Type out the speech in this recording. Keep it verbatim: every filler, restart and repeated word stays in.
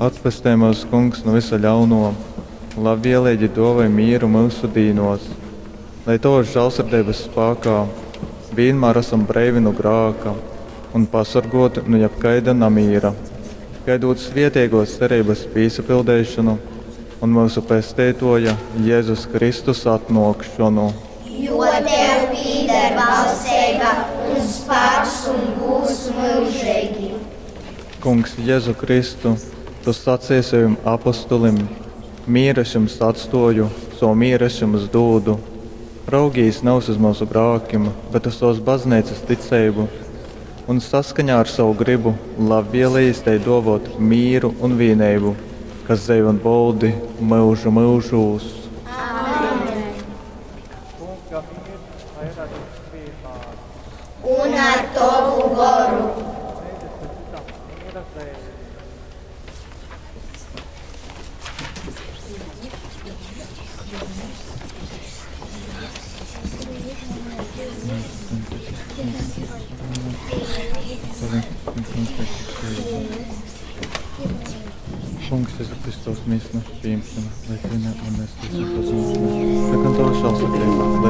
Atpestej myus, Kungs, nu vysa ļaunuo, labvieleigi duovoj mīru myusu dīnuos, lai tovys žālsirdeibys spākā vīnmār asam breivi nu grāka un pasorguoti nu jebkaida namīra, gaidūt svieteiguos cereibys pīsapildeišonu un myusu Pesteituoja Jezus Kristus atnuokšonu. Jo tev pīdar valsteiba un spāks un gūds myužeigi. Kungs Jezu Kristu, tu saceji sovim apostulim: Mīru es jums atstuoju, sovu mīru es jums dūdu. Raugīs nevis uz myusu grākim, bet uz sovas bazneicas ticeibu, un saskaņā ar savu gribu labvielējīs tai duovot mīru un vīneibu, kas dzeivo un voldi myužu myužūs. Amen. Kunga miers lai ir ar jums vienmēr. Un ar tovu goru. Sniedzat citam miera zeimi. Kungs, Jēzu Kristus, mīsu našu pieņemšana, lai tu ne un mēs ticam pazīšana. Lai gan tava žēlsirdība, lai